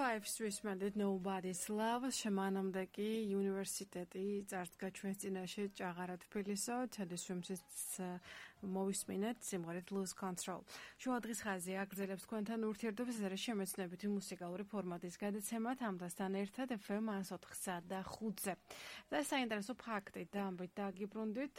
5-ს მანდეთ Nobody's Love შემანამდე კი უნივერსიტეტი წარდგა ჩვენს წინაშე ჭაღარა თბილისო თელესვიმსის მოვისმინეთ სიმღერით Lose Control. შუა დღის ხაზი აგრძელებს თქვენთან ურთიერთობას ეს შემეცნებითი მუსიკალური ფორმატის გადაცემად ამასთან ერთად FM 104.5-ზე. და საინტერესო ფაქტი და ამბით დაგიბრუნდით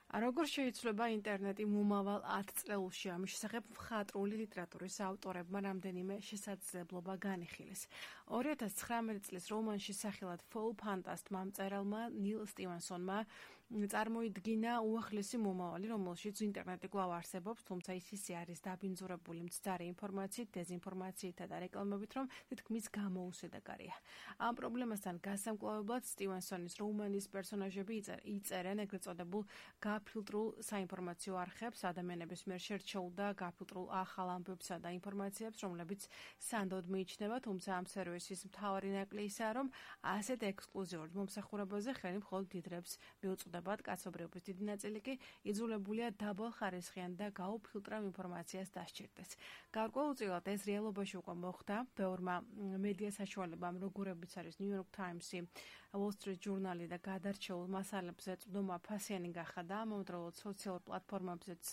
როგორ შეიძლება ინტერნეტი მომავალ 10 წლებში ამის შესახებ მხატვრული ლიტერატურის ავტორებმა რამდენიმე შესაძლებლობა განიხილეს. 2019 წლის რომანში სახელად Fall Fantast-მა მწერალმა ნილ სტივენსონმა წარმოიდგინა უახლესი მომავალი, რომელშიც ინტერნეტი კვლავ არსებობს, თუმცა ის ისე არის დაბინძურებული მცდარი ინფორმაციით, დეზინფორმაციით და რეკლამებით, რომ თითქმის გამოუსადეგარია. ამ პრობლემასთან გასამკლავებლად სტივენსონის რომანის პერსონაჟები იწერენ ეგრეთ წოდებულ გაფილტრულ საინფორმაციო არხებს, ადამიანების მიერ შერჩეულ და გაფილტრულ ახალ ამბებსა და ინფორმაციებს, რომლებიც სანდოდ მიიჩნევა, თუმცა ამ სერვისის მთავარი ნაკლი ისაა, რომ ასეთ ექსკლუზიურ მომსახურებაზე ხელი მხოლოდ დიდრებს მიუწვდებათ, კაცობრიობის დიდი ნაწილი კი იძულებულია დაბალხარისხიან და გაუფილტრავ ინფორმაციას დასჭირდეს. გარკვეულწილად ეს რეალობაში უკვე მოხდა, ბევრმა მედია საშუალებამ, როგორებიც არის New York Times-ი, Wall Street Journal-ი და გადარჩეულ მასალებზე წვდომა ფასიანი გახადა. მომდროულად სოციალურ პლატფორმებზეც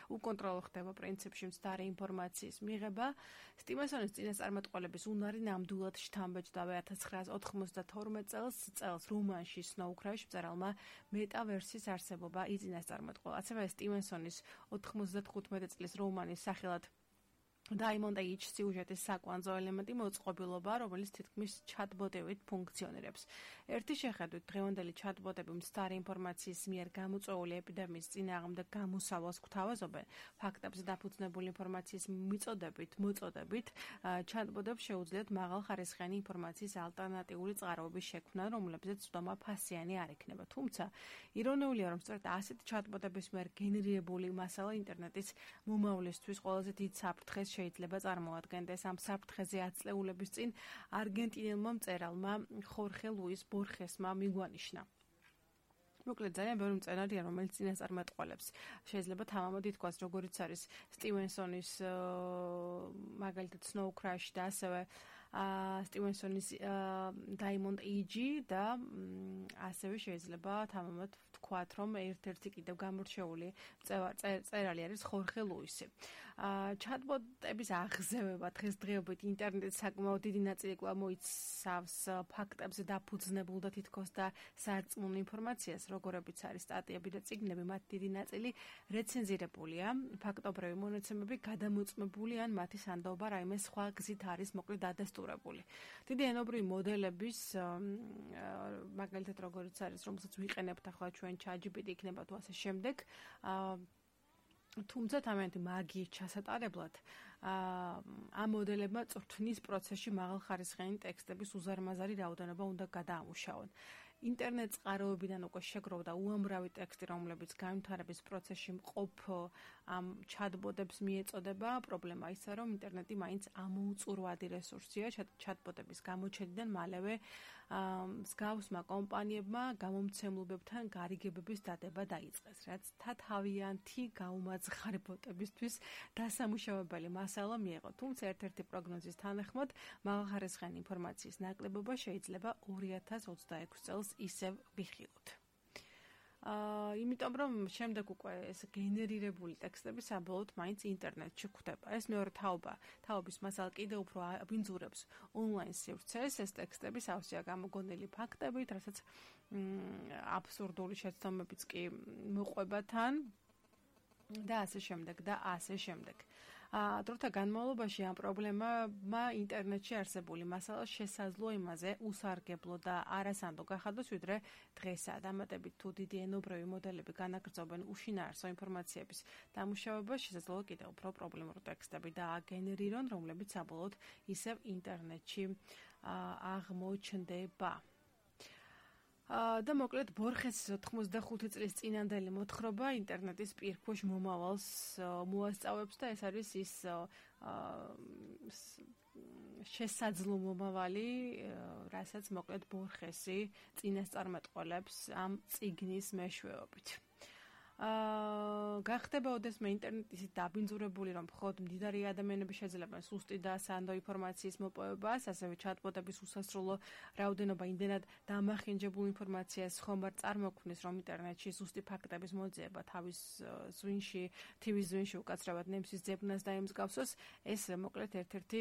უკონტროლო ხდება პრინციპში მცდარი ინფორმაციის მიღება. სტივენსონის წინასწარმეტყველების უნარი ნამდვილად შთამბეჭდა 1992 წელს რომანში Snow Crash მწერალმა მეტავერსის არსებობა იწინასწარმეტყველა. ასევე სტივენსონის 95 წლის რომანის სახელად Diamond Age სიუჟეტის საკვანძო ელემენტი მოწყობილობა, რომელიც თითქმის ჩატბოტებით ფუნქციონირებს. ერთი შეხედვით დღევანდელი ჩატბოტები მცდარი ინფორმაციის მიერ გამოწვეული ეპიდემიის წინააღმდეგ გამოსავალს გვთავაზობენ. ფაქტებზე დაფუძნებული ინფორმაციის მოწოდებით, ჩატბოტებს შეუძლიათ მაღალხარისხიანი ინფორმაციის ალტერნატიული წყაროების შექმნა, რომლებზეც წვდომა ფასიანი არ იქნება. თუმცა, ირონიულია, რომ სწორედ ასეთ ჩატბოტების მიერ გენერირებული მასალა ინტერნეტის მომავლისთვის ყველაზე დიდ საფრთხეს შეიძლება წარმოადგენდეს. ამ საფრთხეზე ათწლეულების წინ არგენტინელმა მწერალმა ხორხე ლუის ბორხესმა მიგვანიშნა. მოკლედ ძალიან ბევრი მწერალია, რომელიც წინასწარმეტყველებს. შეიძლება თამამად ითქვას, როგორიც არის სტივენსონის მაგალითად Snow Crash და ასევე სტივენსონის Diamond Age და ასევე შეიძლება თამამად ვთქვათ, რომ ერთ-ერთი კიდევ გამორჩეული მწერალი არის ხორხე ლუისი. ჩატბოტების აღზევება დღესდღეობით ინტერნეტის საკმაოდ დიდი ნაწილი კვლავ მოიცავს ფაქტებზე დაფუძნებულ და თითქოს და სარწმუნო ინფორმაციას, როგორებიც არის სტატიები და წიგნები, მათ დიდი ნაწილი რეცენზირებულია, ფაქტობრივი მონაცემები გადამოწმებული ან მათი სანდოობა რაიმე სხვა გზით არის მოკლედ დადასტურებული. დიდი ენობრივი მოდელების, მაგალითად როგორიც არის, რომელსაც ვიყენებთ ახლა ჩვენ ChatGPT იქნება თუ ასე შემდეგ, თუმცა თამამად მაგიის ჩასატარებლად ამ მოდელებმა წვრთნის პროცესში მაღალხარისხიანი ტექსტების უზარმაზარი რაოდენობა უნდა გადაამუშავონ. ინტერნეტ წყაროებიდან უკვე შეგროვდა უამრავი ტექსტი, რომლებიც განვითარების პროცესში მყოფ ამ ჩატბოტებს მიეწოდება. პრობლემა ისაა, რომ ინტერნეტი მაინც ამოუწურვადი რესურსია. ჩატბოტების გამოჩენიდან მალევე მსგავსმა კომპანიებმა გამომცემლებებთან გარიგებების დადება დაიწყეს, რაც თავიანთი გაუმაძღარი ბოტებისთვის დასამუშავებელი მასალა მიეღო. თუმცა ერთ-ერთი პროგნოზის თანახმად მაღალხარისხიანი ინფორმაციის ნაკლებობა შეიძლება 2026 წელს ისევ ვიხილოთ. იმიტომ რომ შემდეგ უკვე ეს გენერირებული ტექსტები საბოლოოდ მაინც ინტერნეტში გვხვდება. ეს მეორე თაობის მასალა კიდევ უფრო აბინძურებს ონლაინ სივრცეს. ეს ტექსტები სავსეა გამოგონილი ფაქტებით, რასაც აბსურდული შეცდომებიც კი მოყვება თან. და ასე შემდეგ. დროთა განმავლობაში ამ პრობლემამა ინტერნეტში არსებული მასალა შესაძლო იმაზე უსარგებლო და არასანდო გახადოს, ვიდრე დღესაა. დამატებით თუ დიდი ენობრივი მოდელები განაგრძობენ უშინაარსო ინფორმაციების დამუშავებას, შესაძლოა კიდევ უფრო პრობლემური ტექსტები დააგენერირონ, რომლებიც საბოლოოდ ისევ ინტერნეტში აღმოჩნდება. და მოკლედ ბორხესის 85 წლის წინანდელი მოთხრობა ინტერნეტის პირქვეშ მომავალს მოასწავებს და ეს არის ის შესაძლო მომავალი, რასაც მოკლედ ბორხესი წინასწარმეტყველებს ამ წიგნის მეშვეობით. გახდება ოდესმე ინტერნეტი ისე დაბინძურებული, რომ მხოლოდ მდიდარი ადამიანები შეძლებენ სუსტი და სანდო ინფორმაციის მოპოვებას, ასევე ჩატბოტების უსასრულო რაოდენობა იმდენად დამახინჯებულ ინფორმაციას ხომ არ წარმოქმნის, რომ ინტერნეტში სუსტი ფაქტების მოძიება თავის ზვინში, თივის ზვინში უკაცრავად ნემსის ძებნას დაემსგავსოს, ეს მოკლედ ერთ-ერთი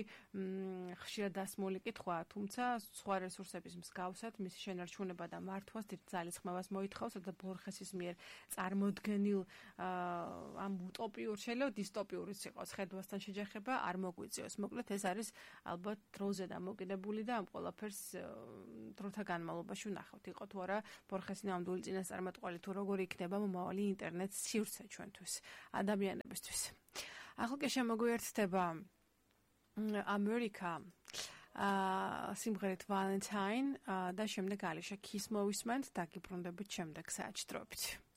ხშირად დასმული კითხვაა, თუმცა სხვა რესურსების მსგავსად მისი შენარჩუნება და მართვას დიდ ძალისხმევას მოითხოვს და ბორხესის მიერ წარმოდგენილ ამ უტოპიურ, შეიძლება დისტოპიურიც იყოს ხედვასთან შეჯახება არ მოგვიწევს. მოკლედ ეს არის ალბათ დროზე დამოკიდებული და ამ ყველაფერს დროთა განმავლობაში ვნახავთ. იყო თუ არა ბორხესი ნამდვილი წინასწარმეტყველი თუ როგორი იქნება მომავალი ინტერნეტ სივრცე ჩვენთვის, ადამიანებისთვის. ახლა კი შემოგვიერთდება ამერიკა სიმღერით Valentine და შემდეგ Alicia Keys მოვისმენთ და გიბრუნდებით შემდეგ საჭდრობით.